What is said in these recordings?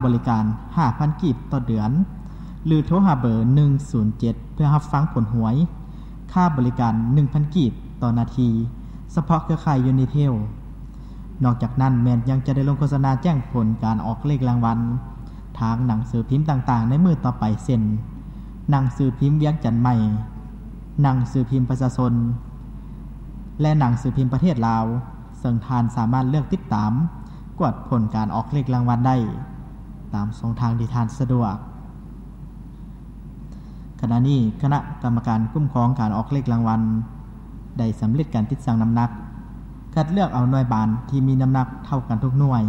ບໍລິການຫ້າພັນກີບຕໍ່ເດືອນ ຫຼືໂທຫາເບີໜຶ່ງສູນເຈັດເພື່ອຮັບຟັງຜົນຫວຍ. ຄ່າບໍລິການໜຶ່ງພັນກີບຕໍ່ນາທີ ສະເພາະເຄືອຂ່າຍ Unitel. ນອກຈາກນັ້ນແມ່ນຍັງຈະໄດ້ລົງໂຄສະນາແຈ້ງຜົນການອອກເລກລາງວັນ ທາງໜັງສືພິມຕ່າງໆໃນມື້ຕໍ່ໄປ ເຊັ່ນ ໜັງສືພິມວຽງຈັນໃໝ່, ໜັງສືພິມປະຊາຊົນ ແລະ ໜັງສືພິມປະເທດລາວ, ເຊິ່ງທ່ານສາມາດເລືອກຕິດຕາມກວດຜົນການອອກເລກລາງວັນໄດ້ຕາມຊ່ອງທາງທີ່ທ່ານສະດວກ. ຂະນະນີ້ຄະນະກຳມະການຄຸ້ມຄອງການອອກເລກລາງວັນ ໄດ້ສຳເລັດການຕິດຊັ່ງນ້ຳໜັກ, ຄັດເລືອກເອົາໜ່ວຍບານທີ່ມີນ້ຳໜັກເທົ່າກັນທຸກໜ່ວຍ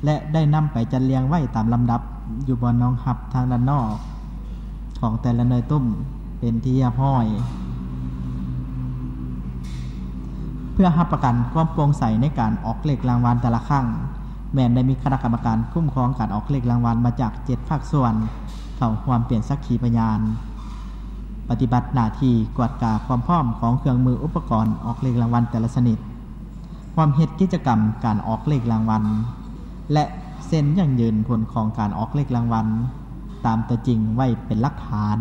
ແລະ ໄດ້ນຳໄປຈັດລຽງໄວ້ຕາມລຳດັບຢູ່ບ່ອນຮອງຮັບທາງດ້ານນອກຂອງແຕ່ລະໜ່ວຍຕຸ້ມເປັນທີ່ຮຽບຮ້ອຍ. ເພື່ອຮັບປະກັນຄວາມໂປ່ງໃສໃນການອອກເລກລາງວັນແຕ່ລະຄັ້ງ, ແມ່ນໄດ້ມີຄະນະກຳມະການຄຸ້ມຄອງການອອກເລກລາງວັນມາຈາກເຈັດພາກສ່ວນເຂົ້າຮ່ວມເປັນສັກຂີພະຍານ, ປະຕິບັດໜ້າທີ່ກວດກາຄວາມພ້ອມຂອງເຄື່ອງມືອຸປະກອນອອກເລກລາງວັນແຕ່ລະຊະນິດ, ຮ່ວມເຮັດກິດຈະກຳການອອກເລກລາງວັນ ແລະ ເຊັນຢັ້ງຢືນຜົນຂອງການອອກເລກລາງວັນຕາມຕົວຈິງໄວ້ເປັນຫຼັກຖານ.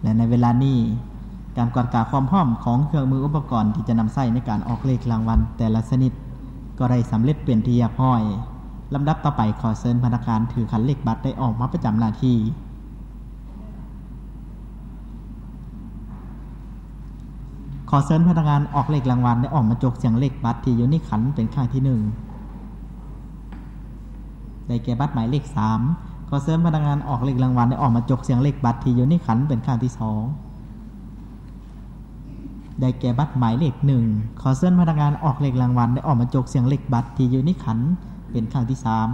ແລະ ໃນເວລານີ້ ການກວດກາຄວາມພ້ອມຂອງເຄື່ອງມືອຸປະກອນທີ່ຈະນຳໃຊ້ໃນການອອກເລກລາງວັນແຕ່ລະຊະນິດ ກໍໄດ້ສຳເລັດເປັນທີ່ຮຽບຮ້ອຍ. ລຳດັບຕໍ່ໄປ ຂໍເຊີນພະນັກງານຖືຂັນເລກບັດໄດ້ອອກມາປະຈຳໜ້າທີ່. ຂໍເຊີນພະນັກງານອອກເລກລາງວັນໄດ້ອອກມາຈົກສຽງເລກບັດທີ່ຢູ່ໃນຂັນເປັນຄັ້ງທີໜຶ່ງ ໄດ້ແກ່ບັດໝາຍເລກສາມ. ຂໍເຊີນພະນັກງານອອກເລກລາງວັນໄດ້ອອກມາຈົກສຽງເລກບັດທີ່ຢູ່ໃນຂັນເປັນຄັ້ງທີສອງ ໄດ້ແກ່ບັດໝາຍເລກໜຶ່ງ. ຂໍເຊີນພະນັກງານອອກເລກລາງວັນໄດ້ອອກມາຈົກສຽງເລກບັດທີ່ຢູ່ໃນຂັນເປັນຄັ້ງທີສາມ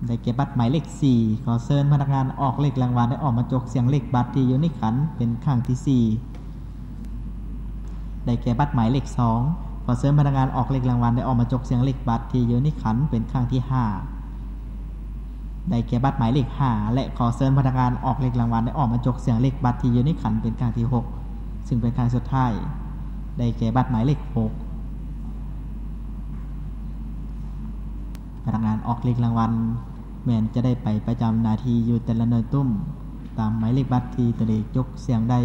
ໄດ້ແກ່ບັດໝາຍເລກສີ່. ຂໍເຊີນພະນັກງານອອກເລກລາງວັນໄດ້ອອກມາຈົກສຽງເລກບັດທີ່ຢູ່ໃນຂັນເປັນຄັ້ງທີສີ່ ໄດ້ແກ່ບັດໝາຍເລກສອງ. ຂໍເຊີນພະນັກງານອອກເລກລາງວັນໄດ້ອອກມາຈົກສຽງເລກບັດທີ່ຢູ່ໃນຂັນເປັນຄັ້ງທີຫ້າ ໄດ້ແກ່ບັດໝາຍເລກຫ້າ ແລະ ຂໍເຊີນພະນັກງານອອກເລກລາງວັນໄດ້ອອກມາຈົກສຽງເລກບັດທີ່ຢູ່ໃນຂັນເປັນຄັ້ງທີຫົກ ຊຶ່ງເປັນຄັ້ງສຸດທ້າຍ ໄດ້ແກ່ບັດໝາຍເລກຫົກ. ພະນັກງານອອກເລກລາງວັນ ແມ່ນຈະໄດ້ໄປປະຈຳໜ້າທີ່ຢູ່ແຕ່ລະໜ່ວຍຕຸ້ມ ຕາມໝາຍເລກບັດທີ່ຕົນເອງຈົກສຽງໄດ້.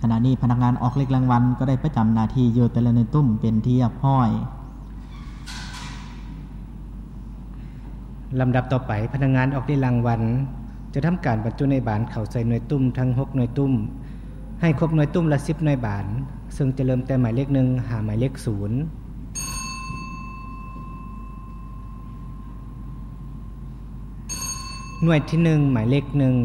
ຂະນະນີ້ພະນັກງານອອກເລກລາງວັນກໍໄດ້ປະຈຳໜ້າທີ່ຢູ່ແຕ່ລະໜ່ວຍຕຸ້ມເປັນທີ່ຮຽບຮ້ອຍ. ລຳດັບຕໍ່ໄປ, ພະນັກງານອອກເລກລາງວັນຈະທຳການບັນຈຸໜ່ວຍບານເຂົ້າໃສ່ໜ່ວຍຕຸ້ມທັງຫົກໜ່ວຍຕຸ້ມ ໃຫ້ຄົບໜ່ວຍຕຸ້ມລະສິບໜ່ວຍບານ, ເຊິ່ງຈະເລີ່ມແຕ່ໝາຍເລກໜຶ່ງຫາໝາຍເລກສູນ. ໜ່ວຍທີໜຶ່ງ ໝາຍເລກໜຶ່ງ.